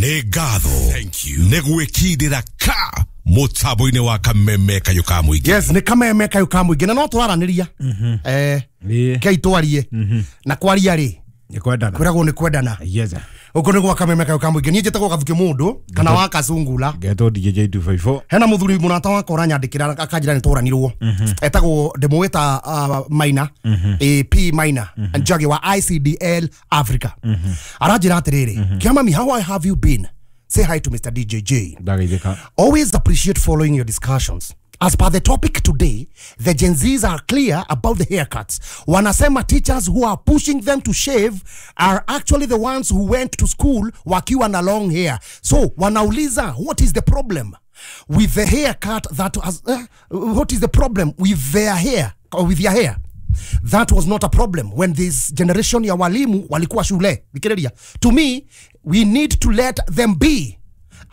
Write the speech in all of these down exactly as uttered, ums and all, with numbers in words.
Nĩ ngatho nĩ gwĩkindĩra ka mũtambo-inĩ wa Kameme Kayũ ka Mũingĩ. Yes, nĩ Kameme Kayũ ka Mũingĩ na no tũraranĩria. Eh, kei twarie na kwaria rĩ nĩ kwendana, kwĩragwo nĩ kwendana. Yes. Ũkũ nĩ gwa Kameme Kayũ ka Mũingĩ. Niĩ njĩtagwo Gathuki Mũndũ kana wa Kacungula. Ngetwo D J two five four. Hena mũthuri mũrata wakwa ũranyandĩkĩra akanjĩra nĩ tũranirwo. Etagwo ndĩmũĩta uh, Maina, A P Maina, Njagi wa I C D L Africa. Aranjĩra atĩrĩrĩ, Kĩamami, how have you been? Say hi to Mister D J J. Always appreciate following your discussions. As per the topic today, the Gen Zs are clear about the haircuts. Wanasema teachers who are pushing them to shave are actually the ones who went to school wakiwa na long hair. So, wanauliza, what is the problem with the haircut that has, uh, what is the problem with their hair, or with your hair? That was not a problem when this generation ya walimu walikuwa shule. To me, we need to let them be,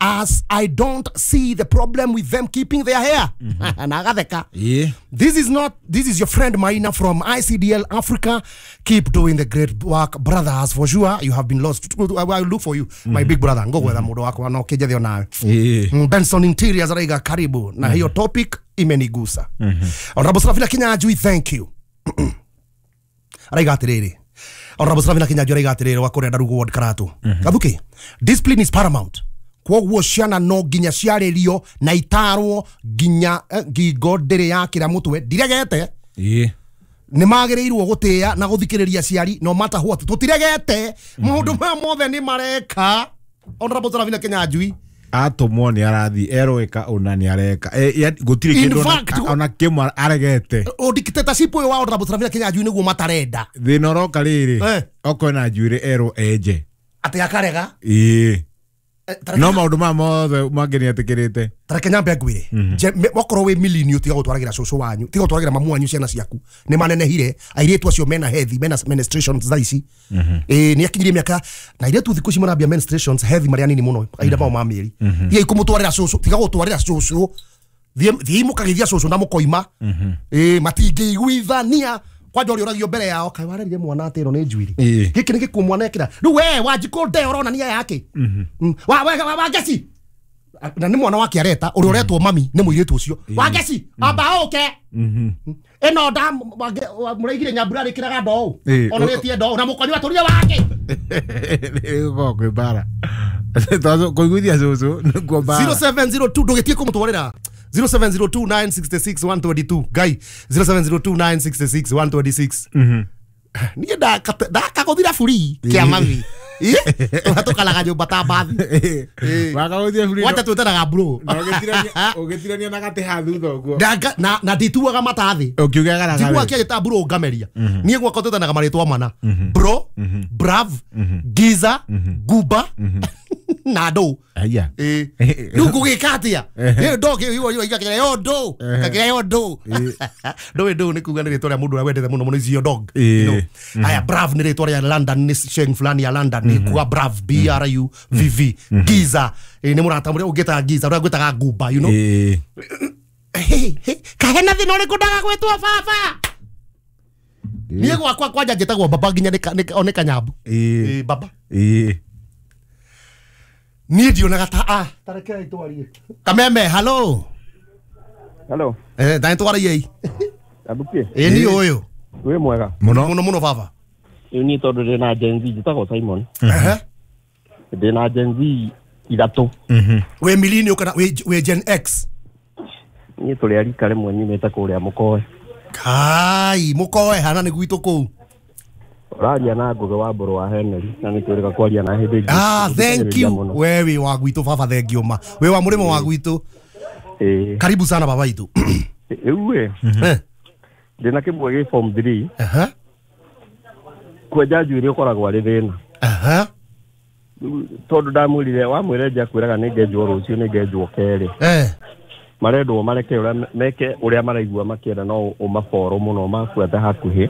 as I don't see the problem with them keeping their hair. Mm-hmm. Yeah. This is not, this is your friend Maina from I C D L Africa. Keep doing the great work, brothers. For sure, you have been lost. I will look for you, mm-hmm. my big brother. Ngo gwetha mundu wakwa no kinjethe onawe. Benson Interiors araiga karibu. Na hiyo topic imenigusa. Mm-hmm. Honorable Serafina Kinyanjui, thank you. Araiga atiriri. Honorable Serafina Kinyanjui araiga atiriri wa kuria Ndarugu Ward Karatu. Gathuki, discipline is paramount. Kwoguo ciana no nginya ciarĩrio na itarwo nginya ngingo ndĩrĩ yakĩra mũtwe ndiregete. Ĩĩ. Nĩ magĩrĩirwo gũtĩĩa na gũthikĩrĩria aciari no matter what. Tũtiregete maũndũ maya mothe nĩ mareka. Honorable Serafina Kinyanjui atũmwo nĩ arathi erwo ĩka ũna nĩ areka gũtirĩ kĩndũ ona kĩmwe aregete. O dictatorship ũyũ wa Honorable Serafina Kinyanjui nĩguo matarenda. Thĩna ũroka rĩrĩ okorwo na njuĩrĩ erwo enje atĩ akarega. Ĩĩ. No maũndũ maya mothe mangĩ nĩ etĩkĩrĩte. Tareke nyambe ngwĩre, wakorwo wĩ millennial tiga gũtwaragĩra cũcũ wanyu, tiga gũtwaragĩra mamu wanyu ciana ciaku. Nĩ manenehire airĩtu acio mena healthy, mena menstruations thaa ici. Ĩĩ nĩ akinyirie mĩaka na airĩtu thikũ ici marambia menstruations healthy marĩ anini mũno kahinda mao ma mĩeri. Tiga ikũmũtwarĩra cũcũ, tiga gũtwarĩra cũcũ. Thiĩ mũkagĩthia cũcũ na mũkoima. Ĩĩ matingĩiguithania. Kwanja ũrĩa ũragio mbere yao kaĩ warerire mwana atĩ ĩno nĩ njuĩrĩ. Gĩkĩ nĩ gĩkuo mwana ekĩra. Rĩu we Wanjikũ nde ũronania yake. Wa wa Wangeci. Na nĩ mwana wake areta ũrĩa ũretwo mami nĩ mũirĩtu ũcio. Wangeci amba ũke. Ĩno nda mũraigire Nyambura rĩkĩraga ndoo. Onanĩtie ndoo na mũkonyo atũrire wake. Gũkorwo kwĩ mbara. Kũiguithia cũcũ nĩkuo mbara. zero seven zero two ndũgĩtie kũmũtwarĩra. zero seven zero two nine six six one two two Guy zero seven zero two nine six six one two six. Mhm. Niĩ ndakagũthira buri kĩa mami. Tũkalaga nyũmba ta mbathi. Wakagũthira buri. Wacha twĩtanaga bro. Na ũgĩtirania ũgĩtirania na gatĩ ha thutha ũguo. Na na ndituaga mata thĩ. Ũkiuga garagara. Njiguaga kĩanjĩta bro ngameria. Niĩ gwakwa twĩtanaga marĩtwa mana. Bro, Brav, Giza, Guba na ndũ. Aya. Ĩĩ. Rĩu ngũgĩka atĩa? Ĩĩ ndũ igakĩra yo ndũ. Ngakĩra yo ndũ. Ndũĩ ndũ nĩ kuga nĩ rĩtwa rĩa mũndũ ũrĩa wendete mũno mũno is your dog. You know. Aya Brav nĩ rĩtwa rĩa London, nĩ sheng fulani ya London nĩ kuga Brav B R U V V. Giza nĩ mũrata ũrĩa ũngĩtaga Giza ũrĩa ngwĩtaga Guba, you know. Ĩĩ. Kahena thĩna ũrĩkũ ndaga gwĩtwo baba? Niĩ gwakwa kwanja njĩtagwo baba nginya nĩ Kanyambu. Ĩĩ. Baba. Ĩĩ. Niĩ ndionaga ta a tarekei twarie. Kameme, hello. Hello. Eh, ndani twarie. Abuki. Ĩĩ ni ũyũ. Wĩ mwega. Mũno mũno mũno baba. Rĩu niĩ tondũ ndĩ na Gen Z njĩtagwo Simon. Ehe. Ndĩ na Gen Z ithatũ. Mhm. Wĩ millennial kana wĩ Gen X? Niĩ tũrĩ a rika rĩmwe nyumĩte kũrĩa Mũkoe. Kai, Mũkoe hana nĩ gwitũ kũu. Ũraria na Ngũgĩ wa Mbũrũ wa Henry na nĩ twĩrĩga kwaria na hĩndĩ ĩngĩ. Ah, thank you. We wĩ wa gwitũ baba, thank you ma. Wĩ wa mũrĩmo wa gwitũ. Ĩĩ. Karibu sana baba itũ. Rĩu ĩ. Ndĩna kĩmwe gĩ form three. Aha. Kwenja njuĩrĩ ũkoragwo arĩ thĩna. Aha. Tondũ ndamwĩrire wamwĩre nja kwĩraga nĩ ngenjwo rũciũ nĩ ngenjwo kerĩ. Eh. Marendwo mareke ũrĩa meke ũrĩa maraigua makĩenda no ũmaboro mũno mabuate hakuhĩ.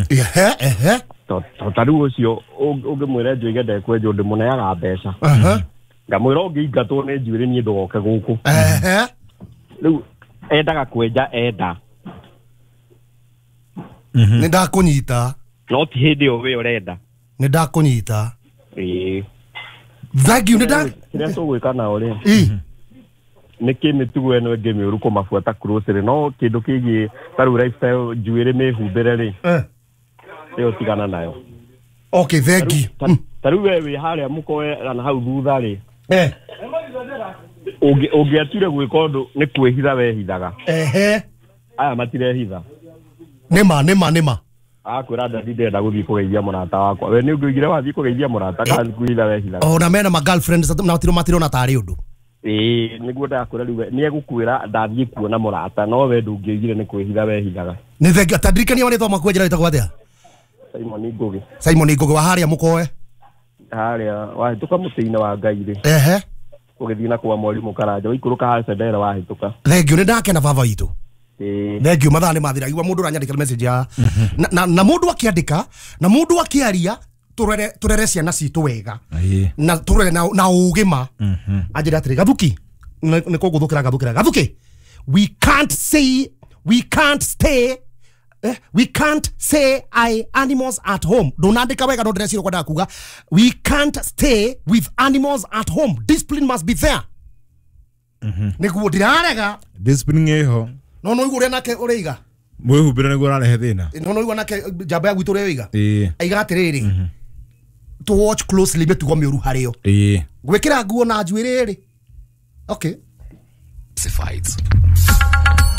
Ehe ehe. To ta rĩu ũcio ũngĩmwĩra njuĩge ndekwenjwo ndĩmũneaga mbeca. Aha. Ngamwĩra ũngĩingatwo nĩ njuĩrĩ niĩ ndũgoke gũkũ. Ehe. Rĩu endaga kwenja enda. Nĩ ndakũnyita. No ti hĩndĩ ĩyo we ũrenda. Nĩ ndakũnyita. Ĩĩ. Thank you nĩ nda Kĩrĩa tũgwĩka nao rĩ Ĩ. nĩ kĩ mĩtugo ĩno ĩngĩ mĩũru kũmabuata closely, no kĩndũ kĩgiĩ ta rĩu lifestyle, njuĩrĩ mĩhumbĩre rĩ, Eh. ĩyo tigana nayo. Okay, thank you. Ta- ta rĩu we wĩ harĩa mũkoe na hau thutha rĩ, Eh. ũngĩ- ũngĩatuire gwĩka ũndũ nĩ kwĩhitha wehithaga. Ehe. Aya matirehitha. Nĩma nĩma nĩma. Akwĩra ndadi ndĩrenda gũthiĩ kũgeithia mũrata wakwa, we nĩ ũngĩoigire wathiĩ kũgeithia mũrata kana nĩ kwĩhitha wehithaga? Ona mena ma girlfriends na matiro matirona tarĩ ũndũ. Ĩĩ, nĩguo ndakwĩra rĩu we nĩ egũkwĩra ndathiĩ kuona mũrata, no we ndũngĩoigire nĩ kwĩhitha wehithaga. Nĩ thank you. Tandirikania marĩtwa maku, njĩra wĩtagwo atĩa? Simon Ngũgĩ. Simon Ngũgĩ wa harĩa mũkoe. Harĩa wahĩtũka mũtĩ-inĩ wa Ngai rĩ, Ehe. ũgĩthiĩ na kwa mwarimũ Karanja, waikũrũka harĩa Cendera wahĩtũka. Thank you, nĩ ndakena baba witũ. Ĩĩ. Thank you, mathaa nĩ mathira. Igua mũndũ ũranyandĩkĩra message ya na, na, na mũndũ akĩandĩka na mũndũ akĩaria, tũrere tũrere ciana citũ wega Ĩĩ. na tũrere na, na ũgĩ ma. Anjĩra atĩrĩ, Gathuki, nĩ nĩ kũngũthũkĩra ngathũkĩra Gathuki, we can't say we can't stay Eh, we can't say I animals at home. Ndũnandĩka wega no ndĩreciria kwendaga kuga we can't stay with animals at home, discipline must be there. Nĩguo ndirarega. Discipline ĩho. No no igua ũrĩa nake ũrĩiga. Mwĩhumbĩre nĩguo ũrarehe thĩna. No no igua nake njamba ya gwitũ ũrĩa ũiga. Ĩĩ. Aiga atĩrĩrĩ, to watch closely mĩtugo mĩũru harĩo, Ĩĩ. gwĩkĩra nguo na njuĩrĩ rĩ. Okay. Classifieds.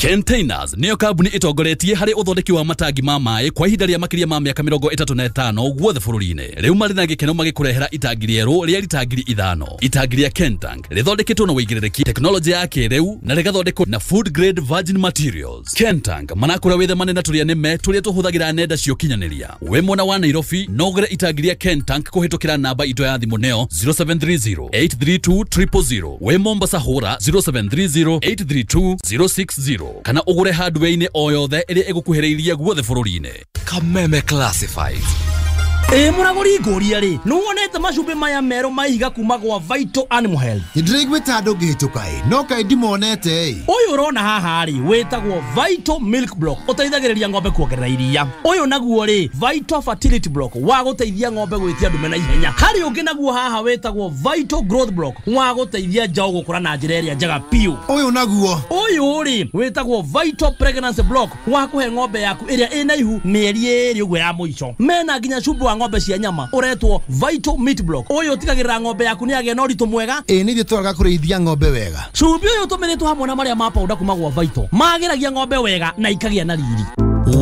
Containers nĩyo kambuni ĩtongoretie harĩ ũthondeki wa matangi ma maĩ kwa ihinda rĩa makĩria ma mĩaka mĩrongo ĩtatũ na ĩtano guothe bũrũri-inĩ. Rĩu marĩ na gĩkeno magĩkũrehera itangi rĩerũ rĩa rita ngiri ithano. Itangi rĩa Kentank rĩthondeketwo na ũigĩrĩrĩki, tekinoronjĩ ya kĩrĩu na rĩgathondekwo na food grade virgin materials. Kentank manakũra wĩthemane na tũrĩa nĩme tũrĩa tũhũthagĩra nenda cia ũkinyanĩria. Wĩ mwena wa Nairobi no ũgũre itangi rĩa Kentank kũhĩtũkĩra namba itũ ya thimũ nĩyo zero seven three zero eight three two triple zero. Wĩ Mombasa hũra zero seven three zero eight three two zero six zero kana ũgũre hardware-inĩ o yothe ĩrĩa ĩgũkuhĩrĩirie guothe bũrũri-inĩ. Kameme Classifieds. Ĩ mũragũri ngũria rĩ, nĩwonete macumbĩ maya merũ ma ihiga kuma gwa Vital Animal Health? Nĩndĩraiguĩte andũ ngĩhĩtũka ĩ, no kaĩ ndimonete ĩ. Ũyũ ũrona haha rĩ wĩtagwo Vital Milk Block, ũteithagĩrĩria ng'ombe kuongerera iria. Ũyũ naguo rĩ Vital Fertility Block, wa gũteithia ng'ombe gwĩtia ndume na ihenya. Harĩ ũngĩ naguo haha wĩtagwo Vital Growth Block, wa gũteithia njaũ gũkũra na njĩra ĩrĩa njega biũ. Ũyũ naguo? Ũyũ rĩ wĩtagwo Vital Pregnancy Block, wa kũhe ng'ombe yaku ĩrĩa ĩna ihu mĩeri ĩĩrĩ ũguo ya mũico. Mena nginya cumbĩ wa ng'ombe cia nyama ũretwo Vital Meat Block. Ũyũ ũtigagĩrĩra ng'ombe yaku nĩ yagĩa na ũritũ mwega. Ĩ nĩ ithuĩ twaraga kũrĩithia ng'ombe wega. Cumbĩ ũyũ ũtũmĩrĩtwo hamwe na marĩa ma powder kuma gwa Vital magĩragia ng'ombe wega na ikagĩa na riri.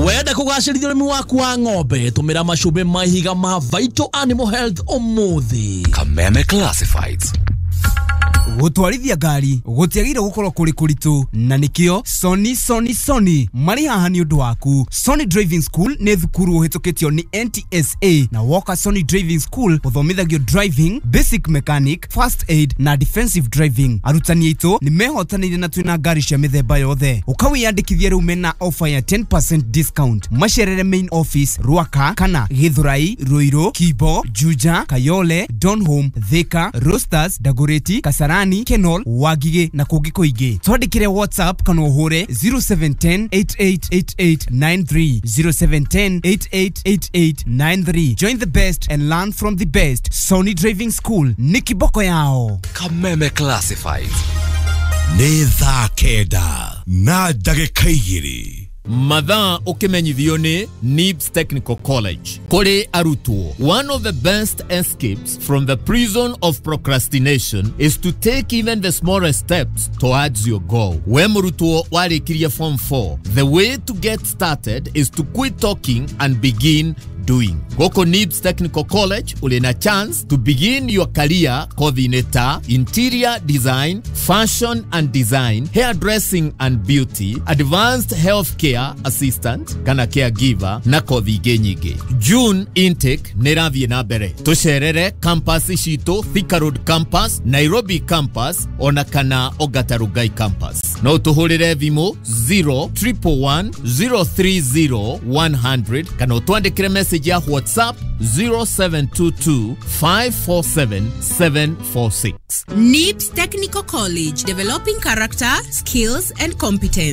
Wenda kũgacĩrithia ũrĩmi waku wa ng'ombe, tũmĩra macumbĩ ma ihiga ma Vital Animal Health ũmũthĩ. Kameme Classifieds. Gũtwarithia ngari gũtiagĩrĩire gũkorwo kũrĩ kũritũ, na nĩkĩo Sony Sony Sony marĩ haha nĩ ũndũ waku. Sony Driving School nĩ thukuru ũhĩtũkĩtio nĩ N T S A, na woka Sony Driving School ũthomithagio driving, basic mechanic, first aid na defensive driving. Arutani aitũ nĩ mehotanĩire na twĩna ngari cia mĩthemba yothe. Ũkawĩyandĩkithia rĩu mena offer ya ten percent discount. Macerere main office Ruaka kana Githurai, Ruiru, Kibo, Juja, Kayole, Donholm, Thika, Roasters, Dagoretti, Kasarani, Kenol, Wagige na kũngĩ kũingĩ. Twandĩkĩre WhatsApp kana ũhũre zero seven ten eight eight eight eight nine three, zero seven ten eight eight eight eight nine three. Join the best and learn from the best. Sony Driving School nĩ kiboko yao. Kameme Classifieds. Nĩ thaa kenda na ndagĩka igĩrĩ. Mathaa ũkĩmenyithio nĩ Nibs Technical College. Kũrĩ arutwo, one of the best escapes from the prison of procrastination is to take even the smallest steps towards your goal. We mũrutwo warĩkirie form four, the way to get started is to quit talking and begin doing. Goko Nibs Technical College uli na chance to begin your career kothi-inĩ ta interior design, fashion and design, hairdressing and beauty, advanced healthcare assistant kana caregiver na kothi ingĩ nyingĩ. June intake nĩ ĩrathiĩ na mbere. Tũcerere campus citũ, Thika Road campus, Nairobi campus ona kana Ongata Rongai campus. No tũhũrĩre thimũ zero triple one zero three zero one hundred kana ũtwandĩkĩre message ya WhatsApp zero seven two two five four seven seven four six. Nibs Technical College, developing character, skills and competence.